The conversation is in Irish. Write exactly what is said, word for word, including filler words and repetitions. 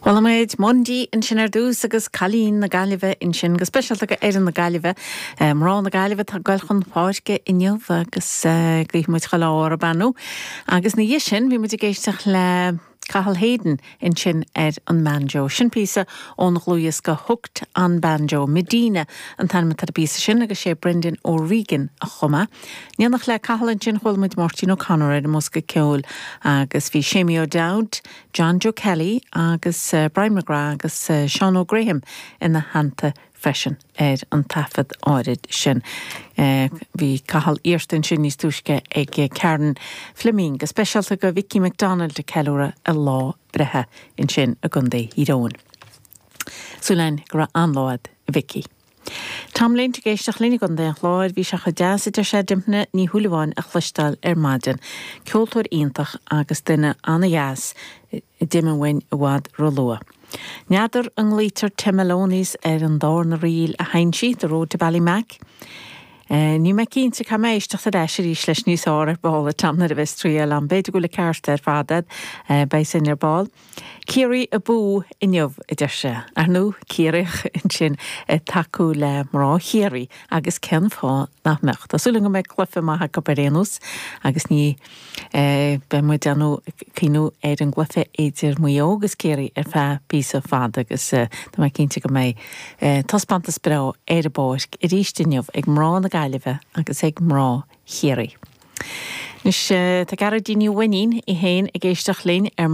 Chuala muid Mundy ansin ar dtús agus Cailíní na Gaillimhe ansin go speisialta go fhoireann na Gaillimhe. Mná na Gaillimhe tá ag goil chun páirce inniu agus guímid chuile ádh orthu ar ndóigh. Agus ina dhiaidh sin bhí muid ag éisteacht le Cathal Hayden ansin ar an mbanjo. Sin píosa ón dlúthdhiosca Hooked on Banjo Medina an t-ainm atá ar an bpíosa sin agus sé Brendan O'Regan a chum é. In éineacht le Cathal ansin chuala muid Máirtín O'Connor ar an mbosca ceoil agus bhí Séamie O'Dowd, John Joe Kelly agus uh, Brian McGrath agus uh, Sean O'Graham ina theannta freisin ar an taifead áirid sin. Uh, bhí Cathal iarrta sin níos túisce ag Karen Fleming, go speisialta go Vicky McDonald ag ceiliúradh a lá breithe ansin i gContae Thír Eoghain. Súil againn go raibh an-lá ag Vicky. Tom Lynch ag éisteacht linn i gContae an Chláir bhí sé chomh deas a deir sé Dympna Ní Shúilleabháin a chloisteáil ar maidin. Ceoltóir iontach agus duine an-deas d'imigh uainn i bhfad róluath. N'fheadar an nglaoitear Tim Maloney's ar an darna ríl a sheinn sí The Road to Ballymac. Uh, ní mé cinnte cá éisteacht ar ais arís leis níos fearr ar ball a Tom nuair a bheas triail an b'fhéidir go bhfuil ceart ar fad uh, beidh sin ar ball. Ciarraí abú inniu a deir sé, ar ndóigh Ciarraíoch ansin tacú le mná Chiarraí agus cén fáth nach mbeadh. Tá súil go mbeidh cluiche maith acu ar aon nós agus ní beidh muid ag cuimhniú ar an gcluiche idir Maigh Eo agus Ciarraí ar feadh píosa fada agus tá mé cinnte go mbeidh taispeántas breá ar an bpáirc arís inniu ag mná na Gaillimhe agus ag mná Chiarraí. Anois tá Gearóidín Ní Mhainnín í féin ag éisteacht linn ar